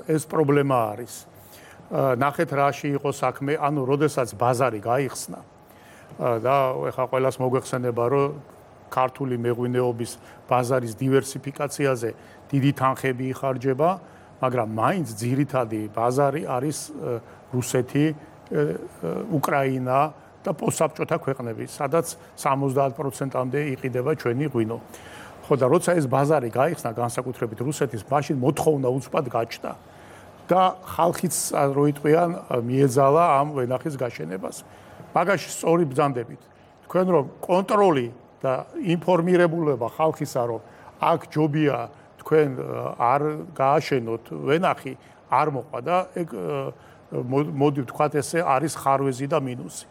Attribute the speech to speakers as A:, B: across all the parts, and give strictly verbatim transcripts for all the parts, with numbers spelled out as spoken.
A: ეს პრობლემა არის. ნახეთ რაში იყო საქმე, ანუ როდესაც ბაზარი გაიხსნა და ეხლა ყველას მოგვეხსენება, რომ ქართული მეღვინეობის ბაზარის დივერსიფიკაციაზე დიდი თანხები იხარჯება, მაგრამ მაინც ძირითადი ბაზარი არის რუსეთი, უკრაინა და პოსტსაბჭოთა ქვეყნები, სადაც სამოცდაათ პროცენტამდე იყიდება ჩვენი ღვინო. ხო და როცა ეს ბაზარი გაიხსნა განსაკუთრებით რუსეთის, მაშინ მოთხოვნა უცბად გაჩნდა და ხალხიც რო იტყვიან მიეძალა ამ ვენახის გაშენებას. მაგაში სწორი ბრძანდებით. თქვენ რომ კონტროლი და ინფორმირებულება ხალხისა რომ აქ ჯობია თქვენ არ გააშენოთ ვენახი არ მოყვა და ეგ მოდი ვთქვათ ესე არის ხარვეზი და მინუსი.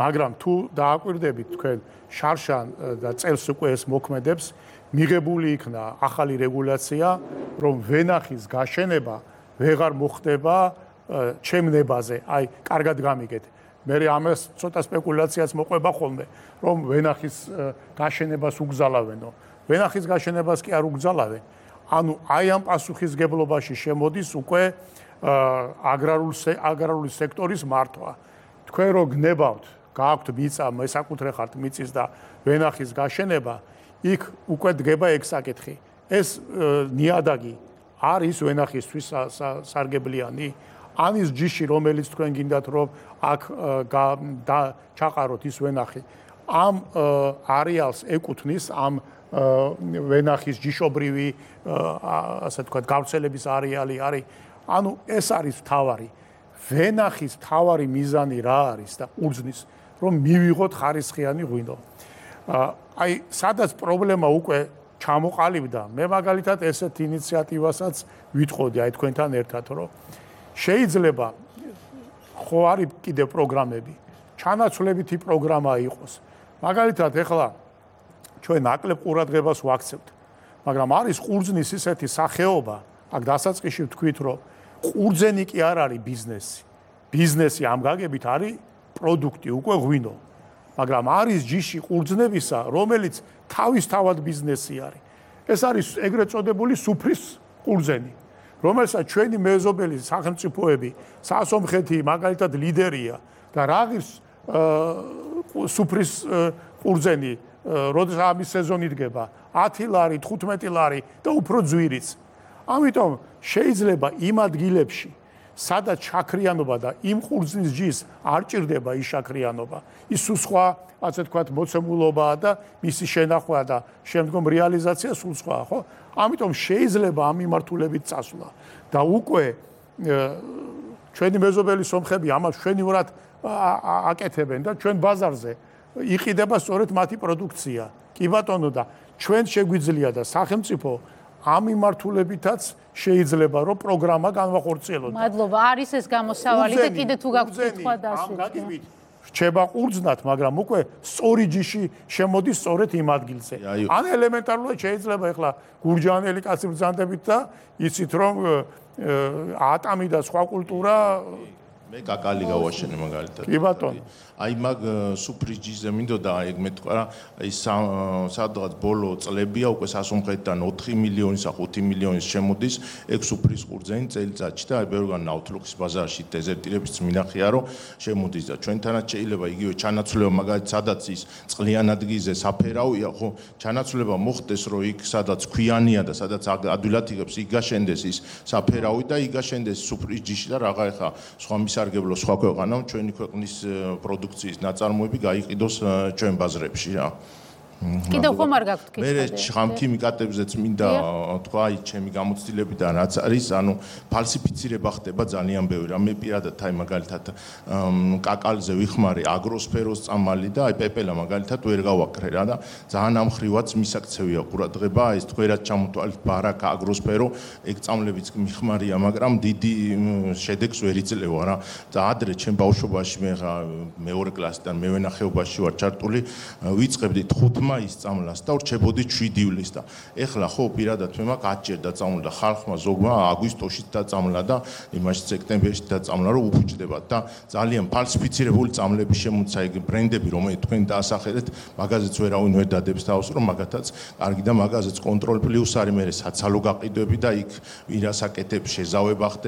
A: მაგრამ თუ დააკვირდებით თქვენ შარშან და წელს უკვე ეს მოქმედებს, მიღებული იქნა ახალი რეგულაცია, რომ ვენახის გაშენება ვეღარ მოხდება ჩემნებაზე. აი, კარგად გამიგეთ. მე ამას ცოტა სპეკულაციაც მოყვება ხოლმე, რომ ვენახის გაშენებას უგზალავენო. ვენახის გაშენებას კი არ უგზალავენ. ანუ აი ამ პასუხისგებლობაში შემოდის უკვე აგრარული სექტორის მართვა. თქვენ რო გნებავთ, გააქვთ მიწა, მესაკუთრე ხართ მიწის და ვენახის გაშენება, იქ უკვე დგება ეგ საკითხი. ეს ნიადაგი არის ვენახისთვის სარგებლიანი? ანის ჯიში, რომელიც თქვენ გინდათ რომ აქ ჩაყაროთ ის ვენახი, ამ არეალს ეკუთვნის ამ ვენახის ჯიშობრივი ასე ვთქვათ გავრცელების არეალი არის. ანუ ეს არის მთავარი. ვენახის მთავარი მიზანი რა არის და ყურძნის რომ მივიღოთ ხარისხიანი ღვინო. აი, სადაც პრობლემა უკვე ჩამოყალიბდა, მე მაგალითად ესეთ ინიციატივასაც ვითხოვდი აი თქვენთან ერთად, რომ შეიძლება ხო არის კიდევ პროგრამები, ჩანაცვლებითი პროგრამა იყოს. მაგალითად, ეხლა ჩვენ ნაკლებ ყურადღებას ვაქცევთ, მაგრამ არის ყურძნის ისეთი სახეობა, აქ დასაწყისში ვთქვით, რომ ყურძენი კი არ არის ბიზნესი. ბიზნესი ამ გაგებით არის პროდუქტი, უკვე ღვინო. მაგრამ არის ჯიში ყურძნებისა, რომელიც თავისთავად ბიზნესი არის. ეს არის ეგრეთ წოდებული სუფრის ყურძენი, რომელსაც ჩვენი მეზობელი სახელმწიფოები, სასომხეთი მაგალითად ლიდერია და რა ღირს სუფრის ყურძენი, როდესაც ამის სეზონი დგება, ათი ლარი, თხუთმეტი ლარი და უფრო ძვირიც. ამიტომ შეიძლება იმ ადგილებში, სადაც შაქრიანობა და იმ ყურძნის ჯის არ ჭირდება ის შაქრიანობა, ის სხვა, ასე ვთქვათ, მოცემულობაა და მისი შენახვა და შემდგომ რეალიზაცია სულ სხვა, ხო? ამიტომ შეიძლება ამ მიმართულებით წასვლა და უკვე ჩვენი მეზობელი სომხები ამას მშვენივრად აკეთებენ და ჩვენ ბაზარზე იყიდება სწორედ მათი პროდუქცია. კი ბატონო და ჩვენ შეგვიძლია და სახელმწიფო ამ მიმართულებითაც შეიძლება რომ პროგრამა განვახორციელოთ.
B: მადლობა, არის ეს გამოსავალი და კიდე თუ გაქვთ კითხვა
A: დასვით. რჩება ყურძნად, მაგრამ უკვე სწორი ჯიში შემოდის სწორედ იმ ადგილზე. ან ელემენტარულად შეიძლება ეხლა გურჯაანელი კაცი ბრძანდებით და იცით რომ ატამი და სხვა კულტურა
C: მე კაკალი გავაშენე მაგალითად.
A: კი ბატონო.
C: აი მაგ სუფრის ჯიზე მინდოდა ეგ მეთქვა, აი სადღაც ბოლო წლებია უკვე სასომხეთიდან ოთხი მილიონის, ხუთი მილიონის შემოდის ეგ სუფრის ყურძენი წელიწადში და აი ბევრგან ნავთლუხის ბაზარში დეზერტირებიც მინახია რომ შემოდის და ჩვენთანაც შეიძლება იგივე ჩანაცვლება მაგალითად სადაც ის წყლიან ადგილზე საფერავია, ხო, ჩანაცვლება მოხდეს რომ იქ სადაც ქვიანია და სადაც ადვილად იღებს იქ გაშენდეს ის საფერავი და იქ გაშენდეს სუფრის ჯიში და რაღა ეხა სხვა მისარგებლო სხვა ქვეყანამ ჩვენი ქვეყნის პროდუქციის ნაწარმოები გაიყიდოს ჩვენ ბაზრებში რა.
B: კიდევ ხომ არ გაქვთ კითხვა?
C: მე ხამქიმიკატებზეც მინდა თქვა, აი ჩემი გამოცდილებიდან რაც არის, ანუ ფალსიფიცირება ხდება ძალიან ბევრი. მე პირადად აი მაგალითად კაკალზე ვიხმარე აგროსფეროს წამალი და აი პეპელა მაგალითად ვერ გავაკრე რა და ძალიან ამხრივაც მისაქცევია ყურადღება, ეს თქვენად ჩამოთვალეთ ბარაკა აგროსფერო, ეგ წამლებიც მიხმარია, მაგრამ დიდი შედეგს ვერ იძლევა რა. და ადრე ჩემ ბავშვობაში მე მეორე კლასიდან მევენახეობაში ვარ ჩართული, ვიწყებდი ხუთ მაისს წამლას და ვრჩებოდი შვიდი ივლისს და ეხლა ხო პირადად მე მაგ ათჯერ დაწამლა და ხალხმა ზოგმა აგვისტოში დაწამლა და იმაში სექტემბერში დაწამლა რომ უფუჭდებათ და ძალიან ფალსიფიცირებული წამლები შემოცა ეგ ბრენდები რომელიც თქვენ დაასახელეთ მაგაზეც ვერავინ ვერ დადებს თავს რომ მაგათაც კარგი და მაგაზეც კონტროლ პლუს არის მე საცალო გაყიდვები და იქ ვირას აკეთებს შეზავება ხდება